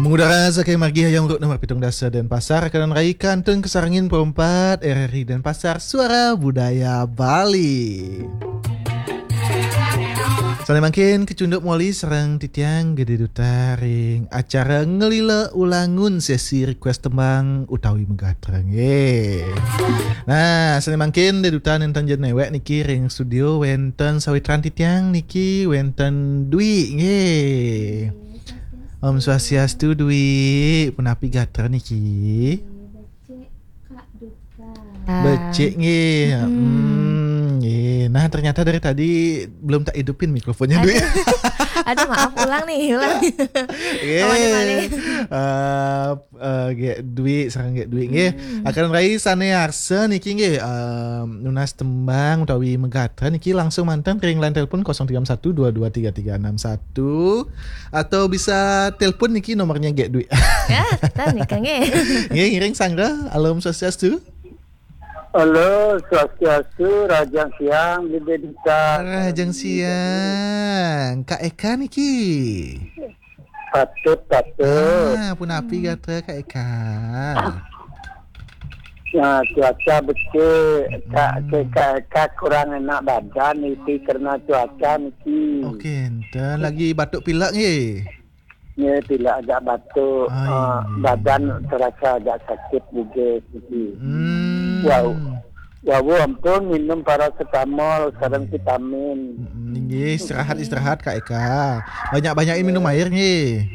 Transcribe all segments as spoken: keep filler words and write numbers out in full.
Udara saking margi Hayam Ruk nomor pitung dasa Denpasar, kanan rai kantun kasarengin perempat R R I Denpasar, Suara Budaya Bali. Sane mangkin kecunduk moli sareng titiang Gede Duta ring acara ngelila ulangun sesi request tembang utawi megatra nggih. Nah, sane mangkin Gede Duta nenten ja newek niki ring studio wenten sawitran titiang niki wenten Dwi nggih. Om Swastiastu, Dwi. Punapi gatra niki? Becik, Kak Duta. Becik nggih. Mm-mm. Hmm, nggih. Nah, ternyata dari tadi belum tak hidupin mikrofonnya, Dwi. Aduh. Aduh, maaf, ulang nih, ulang. Nggih. Awalnya balik. Eh, eh, Gek Dwi, sareng Gek Dwi nggih. Hmm. Akan rai sane arsa niki nggih, eh, nunas tembang utawi megatra niki langsung manten ring line telepon kosong tiga satu dua dua tiga tiga enam satu. Atau bisa telepon niki nomornya Gek Dwi. Ya, kita nikah nggih. Nggih, ngiring sanggra. Alom Swastiastu. Halo, Swastiastu, Rahajeng Siang, Gede Duta. Rahajeng Siang. Kak Eka niki. Patut, patut. Ah, punapi gatra Kak Eka? Nah, cuaca becik, Kak, Hmm. Kak Eka kurang enak badan niki karena cuaca niki. Okey, enten lagi batuk pilek nggih? Nggih, pilek agak batuk, Ah, eh, inggih. Badan terasa agak sakit juga niki. Hmm. Wau, wau ampun minum paracetamol sareng vitamin. Mm-mm, inggih, istirahat, istirahat, Kak Eka. Banyak-banyakin minum air nggih.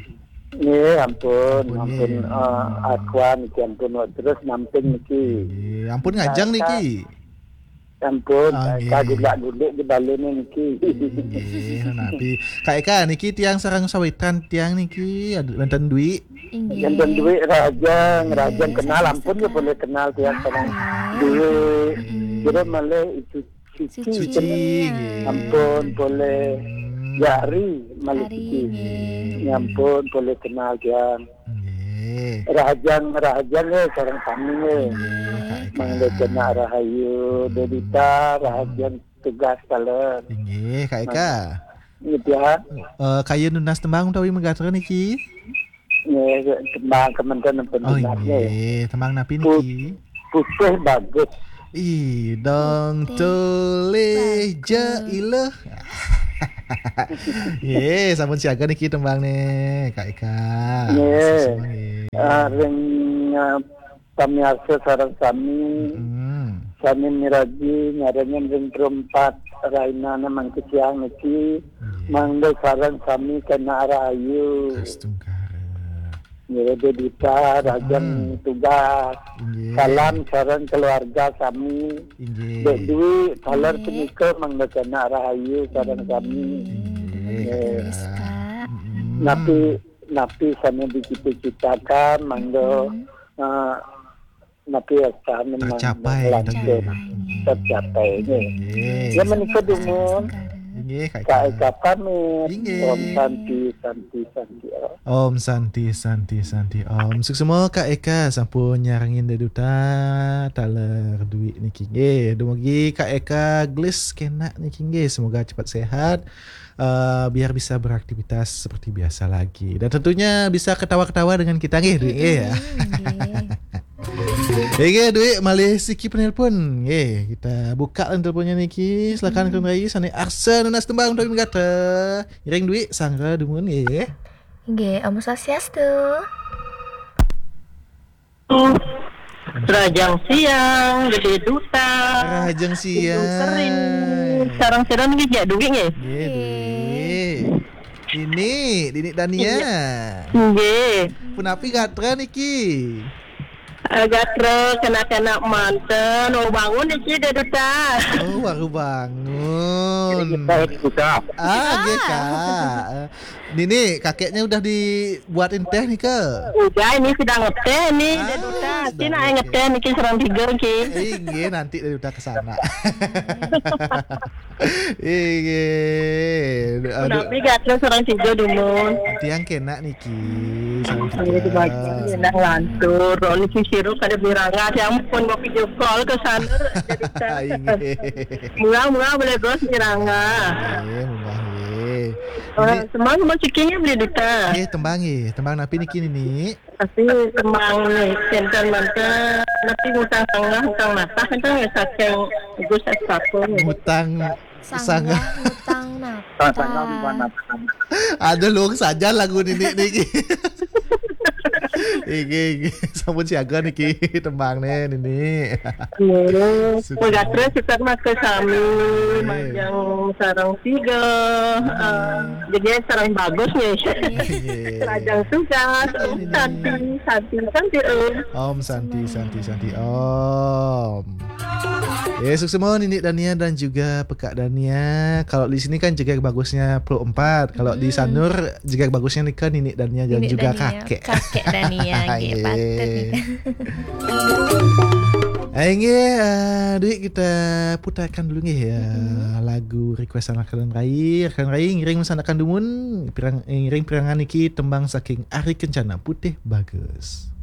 Nggih, ampun, ampun, ampun, nggih. Eh, Aqua niki ampun, terus namping niki. Nggih, ampun ngajeng niki. Ampun, ah, nggih. Kagulak-gulik di balene niki. Nggih, napi? Kak Eka, niki tiang sareng sawitan tiang niki, ad-, wenten Dwi. Inggih. Wenten Dwi, Rahajeng, Rahajeng kenal, ampun ya boleh kenal tiang sareng Dwi. Nggih. Kira malih itu Suci. Suci, nggih. Ampun, boleh. Hmm. Ya, Ari, malih Ari, Suci. Nggih. Ya ampun, boleh kenal tiang. Nggih. Rahajeng, Rahajeng, eh, sareng sami, eh. Nggih, Kak Eka. Mangda cenak rahayu, hmm. Dedita, Rahajeng tugas taler. Inggih, Kak Eka. Nggih, ya. Eh, kayun nunas tembang utawi megatra niki? Nggih, tembang kementerian pendidikan, oh, nggih. Nggih, tembang napi niki? Putih bagus. Ih, dong tulih je iluh. Nggih, sampun siaga niki tembang nih, Kak Eka. Nggih. Sama-sama, nggih. Ah, ring, ah, pamiarsa sareng sami. Mm-mm. Sami miraji nyarengin ring perempat rainane mangke siang niki. Nggih. Mangda sareng sami kena rahayu. Astungkara. Nggih, Dedita, Rahajeng tugas. Inggih. Salam sareng keluarga sami. Inggih. Dek Dwi, taler punika mangda kena rahayu sareng sami. Inggih, Kak Eka. Nggih. Mm-mm. Napi, napi sane dicita-citakan, mangda, eh, napi sane tercapai, mangda tercapai. Tercapai, nggih. Nggih. Ya, menika dumun. Inggih, Kak Eka. Kak Eka pamit. Inggih. Om Santi, Santi, Santi, Om. Om Santi, Santi, Santi, Om. Suksma Kak Eka sampun nyarengin Dek Duta taler Dwi niki nggih. Dumugi Kak Eka gelis kena niki nggih. Semoga cepat sehat, eh, biar bisa beraktivitas seperti biasa lagi. Dan tentunya bisa ketawa-ketawa dengan kita nggih, Dwi nggih ya. Mm-mm, nggih. Nggih, Dwi, malih siki penelpon. Nggih, kita buka line teleponnya niki. Silakan, mm-mm. Kang Rai, sane arsa nunas tembang utawi megatra. Ngiring Dwi, sanggra dumun nggih. Nggih, Om Swastiastu. Rahajeng siang, Gede Duta. Rahajeng siang. Kering. Sareng sira niki Jek Dwi nggih? Nggih, Dwi. Dini, Dini Dania. Iya. Nggih. Punapi gatra niki? Eh, gatra kena-kena manten, oh, bangun niki, Dek Duta. Oh, baru bangun. Iya, Duta. Ah, nggih, Kak. Eh, Nini, kakeknya udah dibuatin teh nih, Kak? Udah, ini sedang ngeteh nih, ah, Dek Duta. Sedang ngeteh. Niki sareng tiga, Ki. Inggih, nanti Dek Duta ke sana. Inggih. Aduh. Tapi gak terus orang tiga dumun. Tiang kena niki, sareng tiga. Nang lantur, niki sirup kada miranga, tiang pun mau video call ke sana, Dek Duta. Inggih. Murah-murah boleh bos miranga. Inggih, murah, inggih. Semang mau cikinya beli duta. Eh, tembang eh. Tembang napi niki, Nini? Tapi tembang ni, sentimental, napi mutang sanggah, mutang matah, itu ya saking Gus Aspapo ni. Mutang sanggah, mutang matah. Ada luang saja lagu Nini niki. Iki, iki. Sampun siaga niki tembang ni, Nini. Suka. Mega terus kita mah ke sami, Majang sarang tiga, eh, jadi sarang bagus ni. Iya. Lajang tugas, Om Santi, Santi, Santi, Om. Om Santi, Santi, Santi, Om. Ya, sukses mau Nini Dania dan juga Pekak Dania. Kalau di sini kan jeger bagusnya puluh empat. Kalau di Sanur jeger bagusnya ni kan Nini Dania dan juga Kakek. Kakek Dania, nggih, patut ni. Inggih, uh, duit kita putarkan dulu nggih ya. Lagu requestan rakan rai. Rakan rai ngiring mesanakan dumun, pirang, ngiring pirangan niki tembang saking Ari Kencana, Putih Bagus.